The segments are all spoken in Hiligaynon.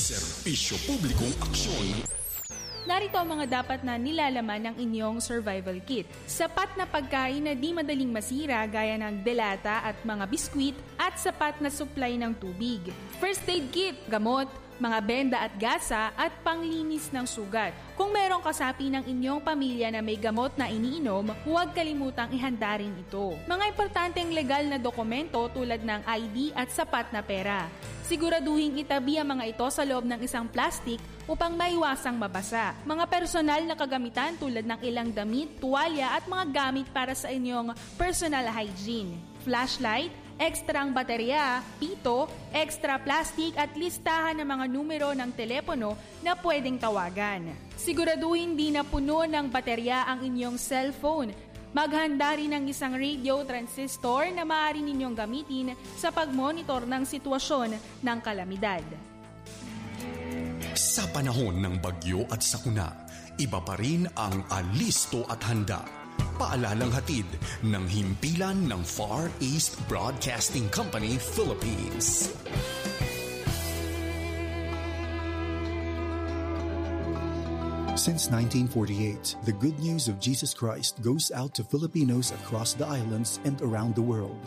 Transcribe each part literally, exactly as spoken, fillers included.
Serbisyo Publikong Aksyon. Narito ang mga dapat na nilalaman ng inyong survival kit. Sapat na pagkain na di madaling masira gaya ng delata at mga biskwit at sapat na supply ng tubig. First aid kit, gamot, mga benda at gasa at panglinis ng sugat. Kung merong kasapi ng inyong pamilya na may gamot na iniinom, huwag kalimutang ihanda rin ito. Mga importanteng legal na dokumento tulad ng I D at sapat na pera. Siguraduhing itabi ang mga ito sa loob ng isang plastic upang maiwasang mabasa. Mga personal na kagamitan tulad ng ilang damit, tuwalya at mga gamit para sa inyong personal hygiene. Flashlight, extrang baterya, pito, extra plastic at listahan ng mga numero ng telepono na pwedeng tawagan. Siguraduhin di na puno ng baterya ang inyong cellphone. Maghanda rin ng isang radio transistor na maaari ninyong gamitin sa pagmonitor ng sitwasyon ng kalamidad. Sa panahon ng bagyo at sakuna, iba pa rin ang alisto at handa. Paalalang hatid ng himpilan ng Far East Broadcasting Company Philippines. Since nineteen forty-eight, the good news of Jesus Christ goes out to Filipinos across the islands and around the world.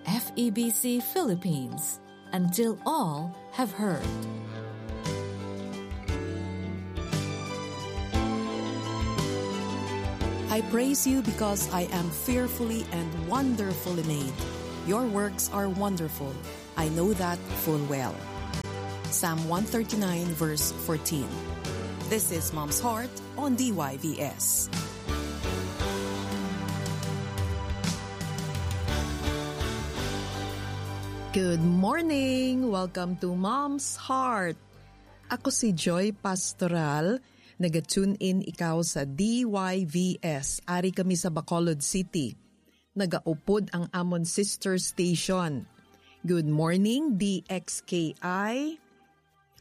F E B C Philippines, until all have heard. I praise you because I am fearfully and wonderfully made. Your works are wonderful. I know that full well. Psalm one thirty-nine, verse fourteen. This is Mom's Heart on D Y V S. Good morning! Welcome to Mom's Heart. Ako si Joy Pastoral. Naga-tune in ikaw sa D Y V S. Ari kami sa Bacolod City. Nagaupod ang amon sister station. Good morning, D X K I.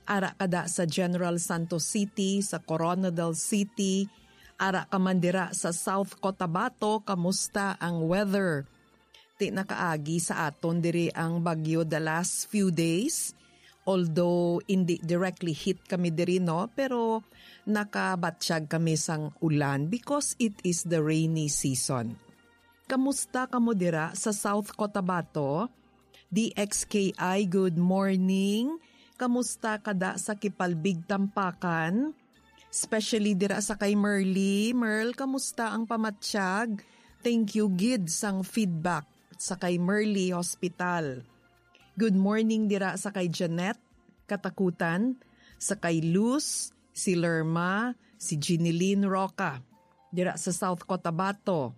Ara ka da sa General Santos City, sa Koronadal City. Ara ka man dira sa South Cotabato, kamusta ang weather? Ti nakaagi sa aton diri ang bagyo the last few days. Although hindi directly hit kami diri, no, pero nakabatyag kami sang ulan because it is the rainy season. Kamusta kamo dira sa South Cotabato? D X K I, good morning. Kamusta ka da sa Kipalbig, Tampakan? Especially dira sa kay Merly. Merl, kamusta ang pamatyag? Thank you gid sang feedback sa kay Merly Hospital. Good morning dira sa kay Janet Katakutan, sa kay Luz, si Lerma, si Jeneline Roca, dira sa South Cotabato.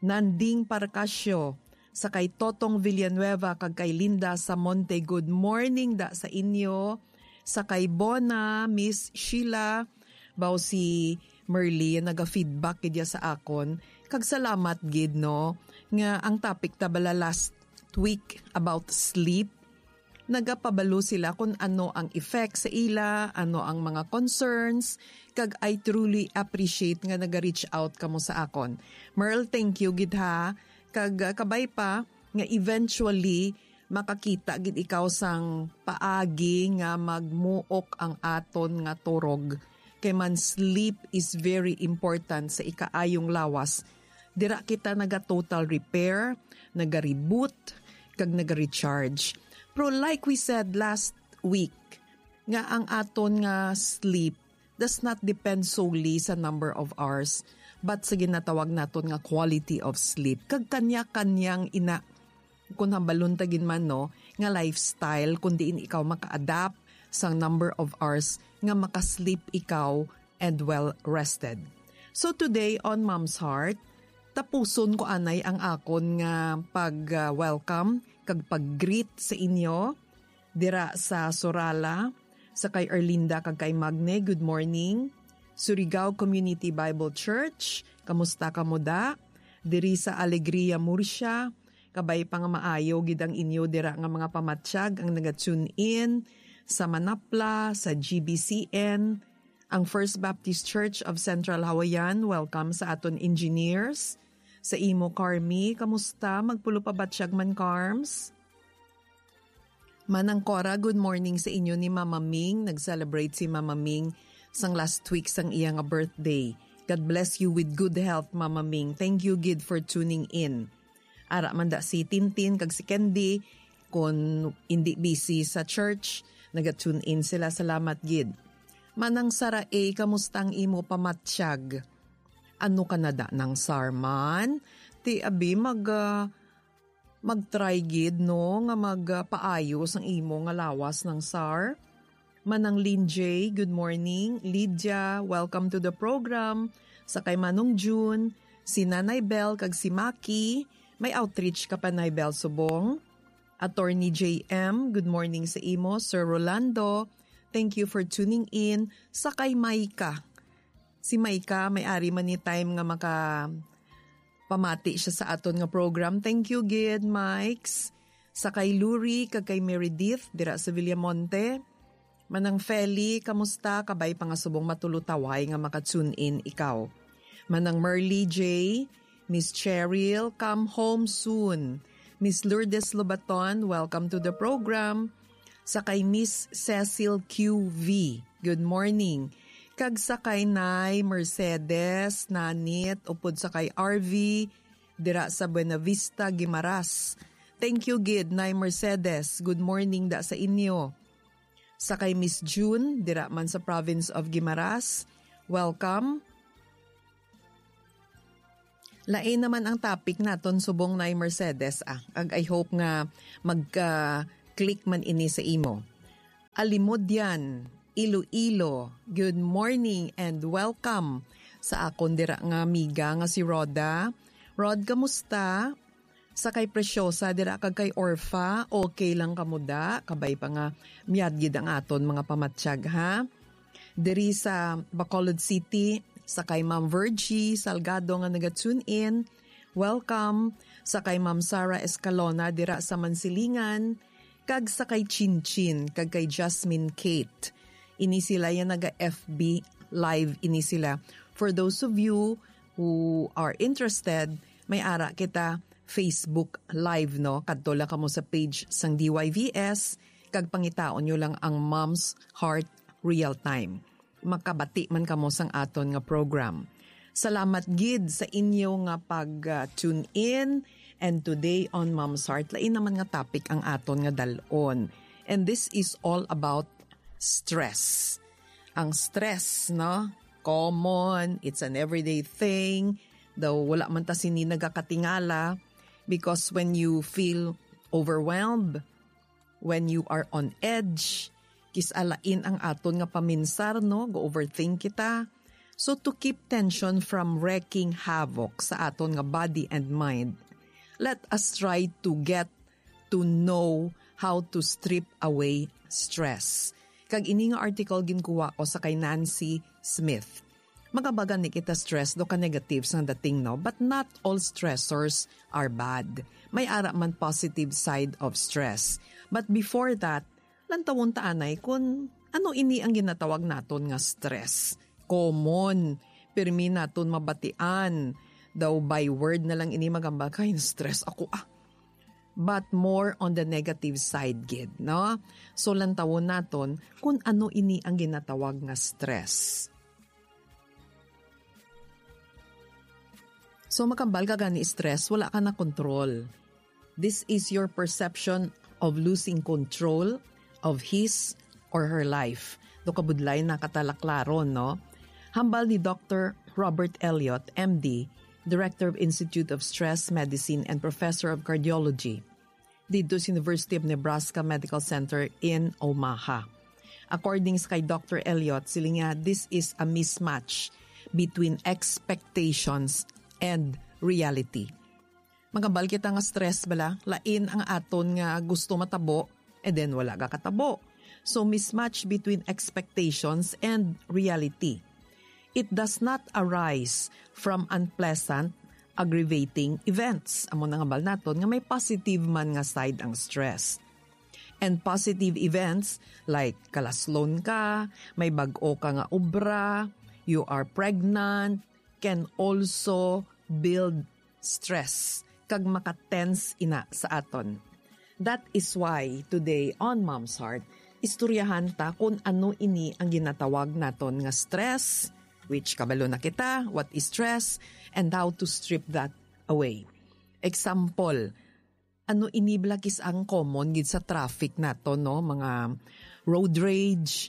Nanding Parcasio, sa kay Totong Villanueva kag kay Linda Samonte. Good morning da sa inyo. Sa kay Bona, Miss Sheila, baw si Merly naga-feedback gid ya sa akon. Kag salamat gid, no, nga ang topic ta bala last week about sleep, nagapabalo sila kung ano ang effect sa ila, ano ang mga concerns, kag I truly appreciate nga naga-reach out kamo sa akon. Merl, thank you gid ha. Kag, ah, kabay pa nga eventually makakita gid ikaw sang paagi nga magmuok ang aton nga turog. Kay man, sleep is very important sa ikaayong lawas. Dira kita naga-total repair, naga-reboot, kag naga-recharge. Pero like we said last week, nga ang aton nga sleep does not depend solely sa number of hours, but sa ginatawag naton nga quality of sleep. Kag kanya-kanyang ina, kung hambalon ta gid man, no, nga lifestyle, kung diin ikaw maka-adapt sang number of hours nga maka-sleep ikaw and well rested. So today on Mom's Heart, tapuson ko anay ang akon nga pag, ah, welcome kag pag-greet sa inyo dira sa Surala, sa kay Erlinda kag kay Magne, good morning. Surigao Community Bible Church, kamusta kamo da? Diri sa Alegria, Murcia, kabay pa nga maayo gid ang inyo dira nga mga pamatyag ang naga-tune in sa Manapla, sa G B C N, ang First Baptist Church of Central Hawaiian. Welcome sa aton engineers. Sa imo, Carmi, kamusta? Magpulo pa batyag man, Carms? Manang Cora, good morning sa inyo ni Mama Ming. Nag-celebrate si Mama Ming sang last week sang iya nga birthday. God bless you with good health, Mama Ming. Thank you gid for tuning in. Ara man da si Tintin kag si Candy, kun indi busy sa church, naga-tune in sila. Salamat gid. Manang Sara A, kamusta ang imo pamatyag? Ano ka na da ng sarman? Ti abi mag, ah, mag-try gid, no, nga magpaayo sang imo nga lawas ng sar. Manang Lynn J, good morning. Lydia, welcome to the program. Sa kay Manong June, si Nanay Bell kag si Maki, may outreach ka pa, Nay Bell Subong. Attorney J M, good morning sa imo. Sir Rolando, thank you for tuning in. Sa kay Maika, si Maika, may ari man ni time nga maka pamati siya sa aton nga program. Thank you gid, Mikes. Sa kay Luri kag kay Meredith dira sa Villamonte. Manang Feli, kamusta? Kabay pa nga subong matulutaway nga maka-tune in ikaw. Manang Merly J, Miss Cheryl, come home soon. Miss Lourdes Lobaton, welcome to the program. Sa kay Miss Cecil Q V, good morning. Kag sa kay Nay Mercedes Nanit, upod sa kay R V, dira sa Buenavista, Guimaras. Thank you gid, Nay Mercedes. Good morning da sa inyo. Sa kay Miss June, dira man sa province of Guimaras. Welcome. Lain naman ang topic naton subong, Nay Mercedes, ah. Ag I hope nga magka-click man ini sa imo. Alimodian, Iloilo, good morning and welcome sa akon dira nga amiga nga si Rhoda. Rod, kamusta? Sa kay Preciosa dira kag kay Orfa, okay lang kamo da? Kabay pa nga miyad gid ang aton mga pamatyag, ha? Diri sa Bacolod City, sa kay Ma'am Virgie Salgado nga naga-tune in, welcome. Sa kay Ma'am Sara Escalona dira sa Mansilingan, kag sa kay Chinchin kag kay Jasmine Kate. Ini sila ya naga F B live ini sila. For those of you who are interested, may ara kita Facebook Live, no? Kadto lang kamo sa page sang D Y V S kag pangitaon nyo lang ang Mom's Heart Real Time. Makabati man kamo sang aton nga program. Salamat gid sa inyo nga pag, ah, tune in. And today on Mom's Heart, lain naman nga topic ang aton nga dal-on. And this is all about stress. Ang stress, no? Common, it's an everyday thing. Daw wala man ta sini nagakatingala, because when you feel overwhelmed, when you are on edge, kis-alain ang aton nga paminsar, no? Go-overthink kita. So, to keep tension from wreaking havoc sa aton nga body and mind, let us try to get to know how to strip away stress. Kag ini nga article ginkuha ko sa kay Nancy Smith. Magabagan ni kita stress do ka negative sang dating, no? But not all stressors are bad. May ara man positive side of stress. But before that, lantawon ta anay kun ano ini ang ginatawag naton nga stress. Common. Pirmi naton mabatian. Daw by word na lang ini magambal, "Kay stress ako, ah." But more on the negative side gid, no? So, lantawon naton kung ano ini ang ginatawag nga stress. So, makambal ka gani stress, wala ka na control. This is your perception of losing control of his or her life. Do kabudlay na katalaklaron, no? Hambal ni Doctor Robert Elliott, M D, Director of Institute of Stress Medicine and Professor of Cardiology dito sa University of Nebraska Medical Center in Omaha. According sa kay Doctor Elliott, siling niya, this is a mismatch between expectations and reality. Magambal kita nga stress bala, lain ang aton nga gusto matabo, and then wala ka katabo. So, mismatch between expectations and reality. It does not arise from unpleasant, aggravating events. Amo na nga bal naton nga may positive man nga side ang stress. And positive events like kalaslon ka, may bag-o ka nga obra, you are pregnant, can also build stress kag maka-tense ina sa aton. That is why today on Mom's Heart, istoryahan ta kung ano ini ang ginatawag naton nga stress, which kabalo na kita, what is stress, and how to strip that away. Example, ano ini bala kis-a ang common gid sa traffic nato, no? Mga road rage,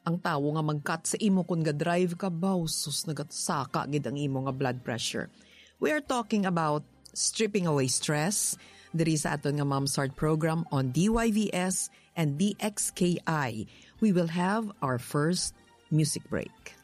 ang tawo nga mag-cut sa imo kun ga-drive ka, baw, sus, nagasaka gid ang imo nga blood pressure. We are talking about stripping away stress. Diri sa aton nga Mom's Heart program on D Y V S and D X K I, we will have our first music break.